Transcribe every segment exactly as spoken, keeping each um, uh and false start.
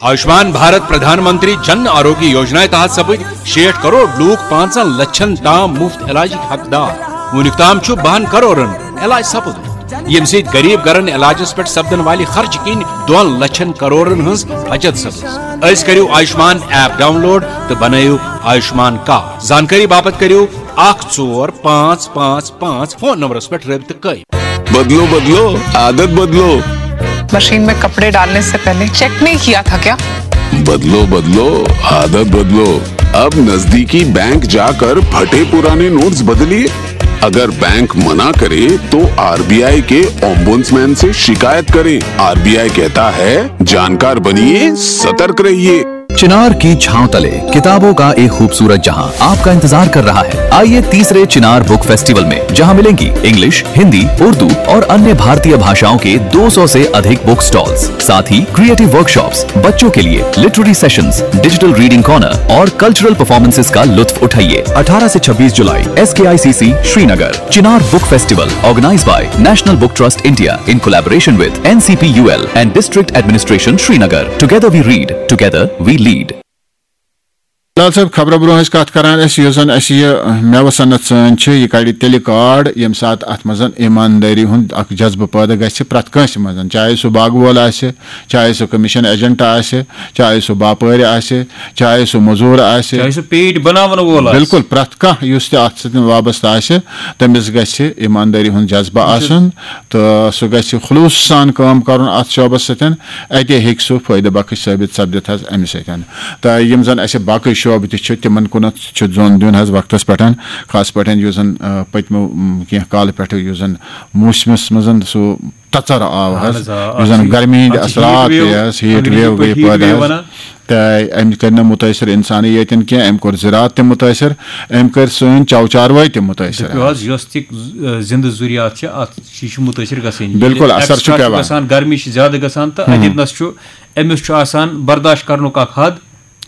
آیوشمان بھارت پردھان منتری جن آروگیہ یوجنا تحت سپٕدۍ شیٹھ کرور لوٗکھ پانٛژن لچھن تام مفت علاجٕکۍ حقدار۔ وُنیُک تام چھُ بَہَن کرورن علاج سپُدمُت، ییٚمہِ سۭتۍ غریب گرن علاجس پٮ۪ٹھ سپدن والہِ خرچہٕ کِنۍ دۄن لچھن کرورن ہٕنٛز بچت سپٕز۔ أزۍ کٔرِو آیوشمان ایپ ڈاؤن لوڈ تہٕ بنٲیِو آیوشمان کارڈ۔ زانکٲری باپتھ کٔرِو اکھ ژور پانٛژھ پانٛژھ پانٛژھ فون نمبرس پٮ۪ٹھ رٲبطہٕ قٲیِم۔ بدلو بدلو، عادت بدلو۔ मशीन में कपड़े डालने से पहले चेक नहीं किया था क्या? बदलो बदलो, आदत बदलो। अब नजदीकी बैंक जाकर फटे पुराने नोट्स बदलिए। अगर बैंक मना करे तो आरबीआई के ओम्बुड्समैन से शिकायत करें। आरबीआई कहता है, जानकार बनिए, सतर्क रहिए। चिनार की छांव तले किताबों का एक खूबसूरत जहां आपका इंतजार कर रहा है। आइए तीसरे चिनार बुक फेस्टिवल में, जहां मिलेंगी इंग्लिश, हिंदी, उर्दू और अन्य भारतीय भाषाओं के दो सौ से अधिक बुक स्टॉल्स, साथ ही क्रिएटिव वर्कशॉप्स, बच्चों के लिए literary sessions, digital reading corner और कल्चरल परफॉर्मेंसेस का लुत्फ उठाइए। अठारह से छब्बीस जुलाई, SKICC Srinagar. Chinar book festival, organized by National Book Trust India in collaboration with NCPUL and District Administration Srinagar. Together we read, together we lead. Bilal Sahab, خبرٕ برونٛہہ ٲسۍ کتھ کران أسۍ، یُس زن اَسہِ یہِ مٮ۪وٕ صنعت سٲنۍ چھِ، یہِ کڑِ تیٚلہِ کارڈ، ییٚمہِ ساتہٕ اتھ منٛز ایٖماندٲری ہُنٛد اکھ جذبہٕ پٲدٕ گژھِ پرٛٮ۪تھ کٲنٛسہِ منٛز، چاہے سُہ باغہٕ وول آسہِ، چاہے سُہ کمیشن ایجنٹ آسہِ، چاہے سُہ باپٲرۍ آسہِ، چاہے سُہ مٔزوٗر آسہِ۔ چاہے سُہ پیٖٹۍ بناون وول آسہِ۔ بِلکُل، پرٛٮ۪تھ کانٛہہ یُس تہِ اتھ سۭتۍ وابستہٕ آسہِ، تٔمِس گژھِ ایٖماندٲری ہُنٛد جذبہٕ آسُن۔ تہٕ سُہ گژھِ خلوٗص سان کٲم کرُن اتھ شعبس سۭتۍ، اتے ہیٚکہِ سُہ فٲیدٕ بخش ثٲبت سپدِتھ حظ امہِ سۭتۍ۔ تہٕ یِم زن اسہِ باقٕے شعبہٕ تہِ چھِ، تِمن کُنتھ چھُ ظۄن دیُن حظ وقتس پٮ۪ٹھ، خاص پٲٹھۍ یُس زن، آ، پٔتمیو، م، کینٛہہ کالہٕ پٮ۪ٹھٕ یُس زن موسمس منٛز سُہ تژر آو حظ، اہن حظ، آ، یُس زن اَتھ چھُ، گرمی ہٕنٛدۍ اَتھ چھُ اثرات heat wave، تہِ حظ، ہیٖٹ انگریزی ویو پٲٹھۍ گٔے heat پٲدٕ wave حظ۔ وَنان۔ تہٕ أمۍ کٔرۍ نہٕ مُتٲثر اِنسانٕے یٲتٮ۪ن کینٛہہ، أمۍ کوٚر زِراعت تہِ مُتٲثر، أمۍ کٔرۍ سٲنۍ چو چاروٲے تہِ مُتٲثر دٔپِو حظ۔ حظ، یۄس تہِ، آ، زِندٕ ضروٗریات چھِ، اَتھ چھِ، یہِ چھُ مُتٲثر گژھان۔ بِلکُل، ییٚلہِ اثر چھُ extra پٮ۪وان۔ گژھان، گرمی چھِ زیادٕ گژھان تہٕ اَتٮ۪تھ نَس چھُ، أمِس چھُ آسان برداش کرنُک اکھ حد۔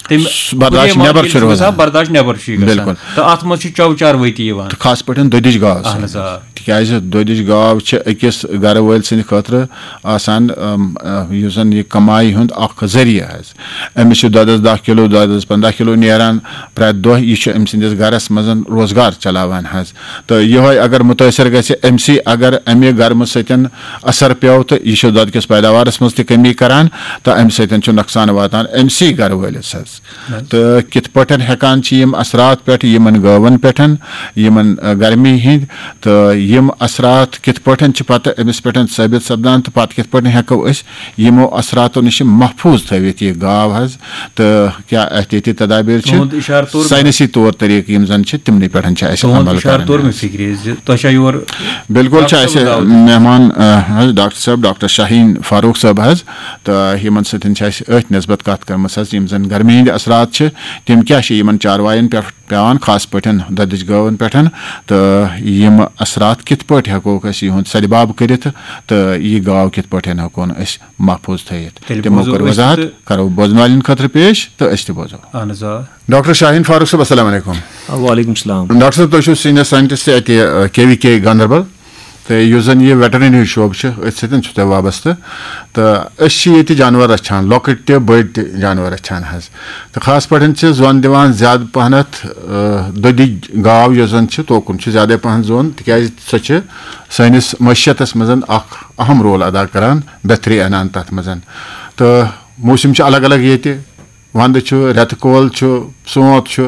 تٔمۍ سُہ برداش کُنے نٮ۪بر ماحول چھُ چھُ روزان۔ گژھان، برداش نٮ۪بر چھُ یہِ گژھان۔ بِلکُل۔ تہٕ اَتھ منٛز چھِ چو چاروٲے تہِ یِوان۔ تہٕ خاص پٲٹھۍ دۄدٕچ گاو اہن حظ، سۭتۍ۔ آ۔ تِکیٛازِ دۄدٕچ گاو چھِ أکِس گرٕ وٲلۍ سٕنٛدِ خٲطرٕ آسان، أم، أ، یُس زَن یہِ کمایہِ ہُنٛد اکھ ذٔریعہٕ حظ۔ أمِس چھُ دۄدَس دَہ کِلوٗ، دۄدَس پنٛداہ کِلوٗ نیران پرٛٮ۪تھ دۄہ۔ یہِ چھُ أمۍ سٕنٛدِس گرَس منٛز روزگار چلاوان حظ۔ تہٕ یِہوٚے اگر مُتٲثر گژھِ أمۍ سٕے، اگر اَمہِ گرمہٕ سۭتۍ اثر پیوٚو تہٕ یہِ چھُ دۄدٕ کِس پیداوارَس منٛز تہِ کمی کران تہٕ اَمہِ سۭتۍ چھُ نۄقصان واتان أمۍ سٕے گرٕ وٲلِس حظ۔ تہٕ کِتھ پٲٹھۍ ہٮ۪کان چھِ یِم اثرات پٮ۪ٹھ یِمن گٲون پٮ۪ٹھ، یِمن، آ، گرمی ہٕنٛدۍ، تہٕ یِم اثرات کِتھ پٲٹھۍ چھِ پتہٕ أمِس پٮ۪ٹھ ثٲبت سپدان تہٕ پتہٕ کِتھ پٲٹھۍ ہٮ۪کو أسۍ یِمو اثراتو نِش محفوٗظ تھٲوِتھ یہِ گاو حظ، تہٕ کیٛاہ احتیاطی تدابیر چھِ، تُہُنٛد اِشارٕ توٚر مےٚ۔ ساینسی طور طریٖقہٕ یِم زن چھِ، تِمنٕے پٮ۪ٹھ چھِ اَسہِ تُہُنٛد عمل اِشارٕ کران توٚر مےٚ حظ۔ فِکرِ زِ تۄہہِ چھا یور ڈاکٹر صٲبُن دعوت؟ بِلکُل چھُ اَسہِ مہمان، آ، حظ ڈاکٹر صٲب، ڈاکٹر شاہیٖن فاروق صٲب حظ، تہٕ یِمن سۭتۍ چھِ اَسہِ أتھۍ نسبت کتھ کٔرمٕژ حظ، یِم زن گرمی ہٕنٛدۍ اثرات چھِ، تِم کیٛاہ چھِ یِمن چاروایَن پٮ۪ٹھ پٮ۪وان، خاص پٲٹھۍ دۄدٕچ گٲوَن پٮ۪ٹھ، تہٕ یِم اثرات کِتھ پٲٹھۍ ہٮ۪کوکھ أسۍ یِہُنٛد سدباب کٔرِتھ، تہٕ یہِ گاو کِتھ پٲٹھۍ ہٮ۪کون أسۍ محفوٗظ تھٲیِتھ۔ تیٚلہِ تِمو بوزو کٔر أسۍ وضاحت، تہٕ کرو بوزن والٮ۪ن خٲطرٕ پیش تہٕ أسۍ تہِ بوزو۔ اہن حظ، آ۔ ڈاکٹر شاہیٖن فاروق صٲب، السلام علیکم۔ وعلیکم السلام۔ ڈاکٹر صٲب، تُہۍ چھِو سینئر ساینٹسٹ اَتہِ، آ، کے وی کے گاندربل۔ تہٕ یُس زَن یہِ ویٹرنری شعبہٕ چھُ، أتھۍ سۭتۍ چھُ تۄہہِ وابستہٕ۔ تہٕ أسۍ چھِ ییٚتہِ جانوَر رَچھان، لۄکٕٹۍ تہِ بٔڑۍ تہِ جانوَر رَچھان حظ۔ تہٕ خاص پٲٹھۍ چھِ زَن دِوان زیادٕ پَہنَتھ، آ، دۄدٕچ گاو یۄس زَن چھِ، توکُن چھُ زیادَے پَہَن زوٚن، تِکیٛازِ سۄ چھِ سٲنِس معیشتَس منٛز اَکھ اَہَم رول اَدا کَران، بہتری اَنان تَتھ منٛز۔ تہٕ موسِم چھِ الگ الگ ییٚتہِ، وَندٕ چھُ، رٮ۪تہٕ کول چھُ، سونٛتھ چھُ،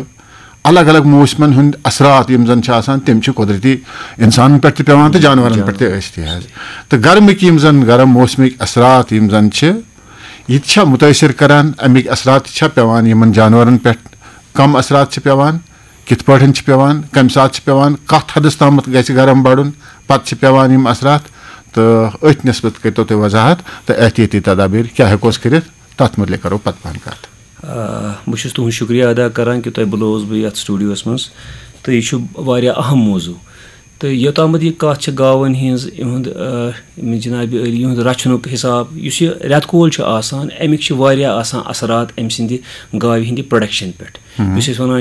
الگ الگ موسمن ہُنٛد اثرات یِم زن چھِ آسان، تِم چھِ قۄدرتی انسانن پٮ۪ٹھ تہِ پٮ۪وان تہٕ جانورن پٮ۪ٹھ تہِ ٲسۍ تہِ حظ۔ تہٕ گرمٕکۍ یِم زن گرم موسمٕکۍ اثرات یِم زن چھِ، یہِ تہِ چھا مُتٲثر کران؟ اَمِکۍ اثرات تہِ چھا پٮ۪وان یِمن جانورن پٮ۪ٹھ؟ کم اثرات چھِ پٮ۪وان؟ کِتھ پٲٹھۍ چھِ پٮ۪وان؟ کمہِ ساتہٕ چھِ پٮ۪وان؟ کتھ حدس تامتھ گژھِ گرم بڑُن؟ پتہٕ چھِ پٮ۪وان یِم اثرات؟ تہٕ أتھۍ نسبت کٔرتو تُہۍ وضاحت تہٕ احتیاطی تدابیر کیٛاہ ہٮ۪کو أسۍ کٔرِتھ؟ تتھ مُتعلق کرو پتہٕ پہن کتھ۔ آ، بہٕ چھُس تُہُنٛد شُکریہ ادا کران کہِ تۄہہِ بُلووُس بہٕ یتھ studio-س منٛز، تہٕ یہِ چھُ واریاہ اہم موضوع۔ تہٕ یوٚتامَتھ یہِ کتھ چھِ گاوَن ہٕنٛز، یِہُنٛد، آ، یِم جناب عٲلی، یِہُنٛد رچھنُک حساب، یُس یہِ رٮ۪تہٕ کول چھُ آسان، اَمِکۍ چھِ واریاہ آسان اثرات أمۍ سٕنٛدِ گاوِ ہٕنٛدِ production پٮ۪ٹھ۔ یُس أسۍ وَنان